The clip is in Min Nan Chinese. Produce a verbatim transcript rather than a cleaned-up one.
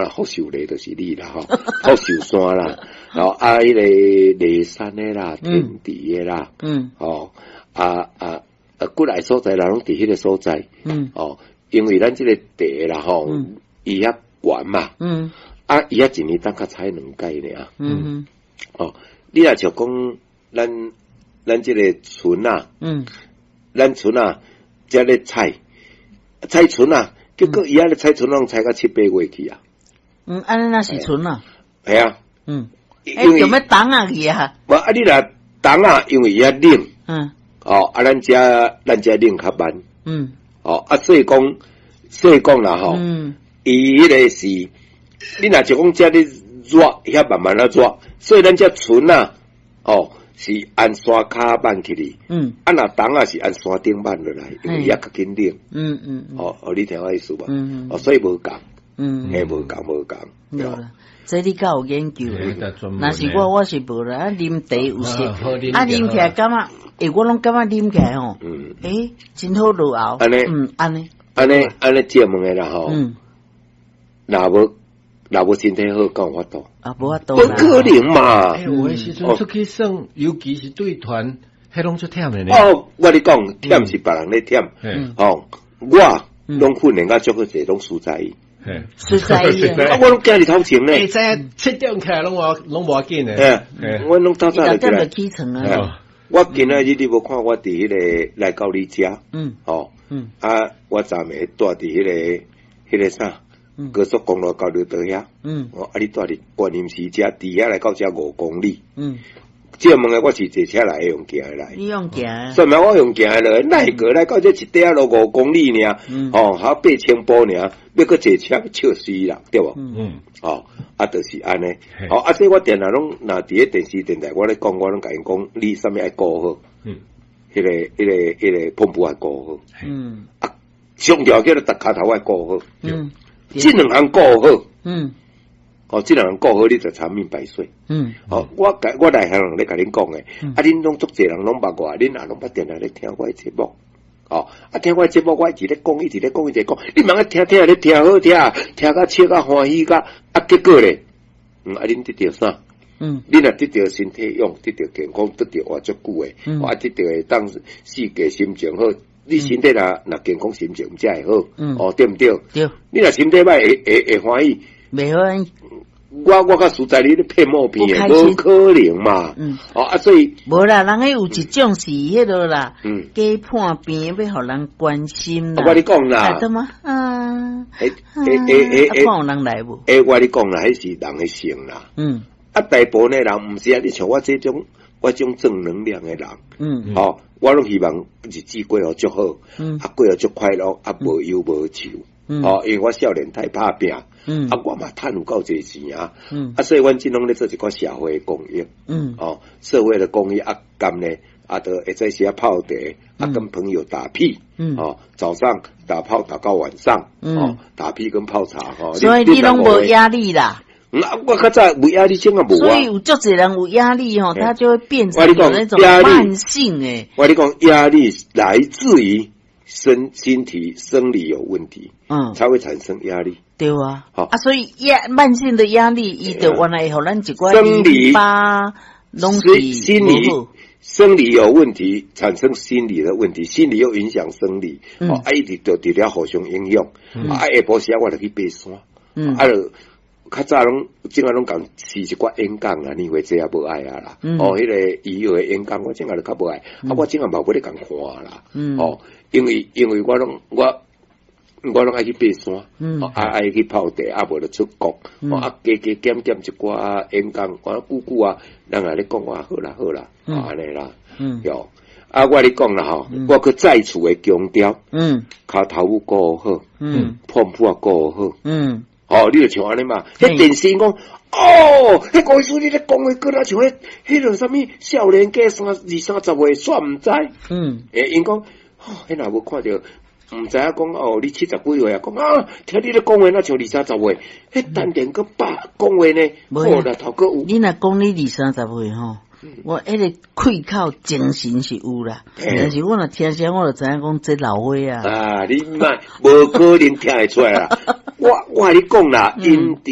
啦，福壽螺就是你啦吼，福壽山啦，然後啊，彼個麗山的啦，天池的啦，嗯，哦，啊啊啊，幾來所在，人攏佇彼個所在，嗯，哦，因為咱這個地啦吼，伊遐懸嘛，嗯，啊，伊遐一年當較採兩擺爾，嗯，哦，你若像講咱咱這個蓴仔，嗯，咱蓴仔遮咧採採蓴仔，結果伊遐咧採蓴攏採到七八月去啊。嗯，按呢若是蓴仔？係啊。嗯，欸，做咩凍啊去啊？無啊，你若凍啊，因為伊遐冷。嗯。哦，啊，咱遮咱遮冷較慢。嗯。哦，啊，所以講，所以講啦，吼。嗯。伊彼個是，你若就講遮咧熱，遐慢慢仔熱，所以咱遮蓴仔，哦，是按山跤挽起去。嗯。啊，若冬仔是按山頂挽落來，因為遐較緊冷。嗯嗯。哦哦，你聽我意思無？嗯。哦，所以無仝。嗯。嘿，無仝無仝。對啦，這你較有研究。若是我，我是無啦。啊，啉茶有時，啊，啉起來感覺，欸，我攏感覺啉起來吼，嗯，欸，真好落喉。按呢，嗯，按呢，按呢，按呢，借問的啦吼。嗯。若無若無身體好，敢有法度？啊，無法度。無可能嘛！欸，有的時陣出去耍，尤其是對團，彼攏足忝的呢。哦，我咧講，忝是別人咧忝。哦，我攏訓練甲足好勢，攏輸在伊。輸在伊啊！我攏行佇頭前呢。會知影七點起來攏無攏無要緊的。欸，我攏透早就起來。起床啊！我今仔日你無看我佇彼個來到你遮。嗯。哦。嗯。啊，我昨暝蹛佇彼個彼個啥？高速公路交流道遐。嗯。哦，啊，你蹛佇觀音寺遮，佇遐來到遮五公里。嗯。借問的我是坐車來，會用行的來。你用行？所以我用行的來，哪會過來到這一塊仔路五公里爾，哦，還八千步爾，欲閣坐車笑死人，對無？嗯。哦，啊，就是按呢。哦，啊，所以我定定攏若佇咧電視電台，我咧講，我攏共𪜶講，你啥物愛顧好？嗯。彼個、彼個、彼個膨布愛顧好。嗯。啊，上重要叫做逐跤頭愛顧好。嗯。這兩項顧好。嗯。哦，這兩項顧好，你就長命百歲。嗯。哦，我我內行人咧共恁講的，啊，恁攏足濟人攏捌我，恁也攏捌定定咧聽我的節目。哦，啊，聽我的節目，我一直咧講，一直咧講，一直講，你茫愛聽聽咧聽好聽，聽甲笑甲歡喜甲，啊，結果咧，嗯，啊，恁得著啥？嗯。你若得著身體勇，得著健康，得著活足久的，嗯。啊，得著會當四季心情好，你身體若若健康，心情才會好。嗯。哦，對毋對？對。你若身體歹，會會會歡喜？袂歡喜。我我較實在，你咧騙某片的，無可能嘛。嗯。哦啊，所以無啦，人彼有一種是彼落啦，嗯，假破病欲予人關心啦。我共你講啦。對嗎？啊。欸欸欸欸，看有人來無？欸，我共你講啦，彼是人的性啦。嗯。啊，大部分的人毋是啊，你像我這種，我這種正能量的人，嗯，哦，我攏希望日子過予足好，嗯，啊，過予足快樂，啊，無憂無愁。嗯，哦，因為我少年太拍拚，嗯，啊，我嘛趁有夠濟錢啊，嗯，啊，所以阮這攏咧做一寡社會公益，嗯，哦，社會的公益啊，咁呢，啊，就會在時泡茶，啊，跟朋友打屁，嗯，哦，早上打炮打到晚上，嗯，哦，打屁跟泡茶，吼，所以你攏無壓力啦。啊，我較早無壓力，這個無啊。所以有足濟人有壓力吼，他就會變成有那種慢性誒。我共你講，壓力來自於身身體生理有問題，嗯，才會產生壓力。對啊，好啊，所以壓慢性的壓力，伊就原來會予咱一寡生理巴攏是心理生理有問題，產生心理的問題，心理又影響生理，哦，啊，一直就佇咧互相影響。啊，下晡時我就去爬山，嗯，啊，就較早攏這下攏共試一寡演講啊，你話這也無愛啊啦。哦，彼個醫藥的演講，我這下就較無愛，啊，我這下嘛無咧共看啦。哦，因為因為我攏我我攏愛去爬山，啊愛去泡茶，啊無就出國，啊加加減減一寡演講，我久久啊，人來咧講話好啦好啦，按呢啦，喲，啊我共你講啦吼，我閣再次的強調，嗯，跤頭母顧好，嗯，膨布仔顧好，嗯。哦，你就像按呢嘛？彼電視講，哦，彼高醫師你咧講話，閣若像彼彼個啥物少年家三二三十歲，煞毋知。嗯，欸，𪜶講，哦，彼若無看著，毋知影講哦，你七十幾歲啊？講啊，聽你咧講話，若像二三十歲，彼丹田閣百講話呢，好啦，頭閣有。你若講你二三十歲吼，我彼個氣口精神是有啦，但是我若聽聲，我就知影講這老歲仔。啊，你莫無可能聽會出來啦。我我共你講啦，𪜶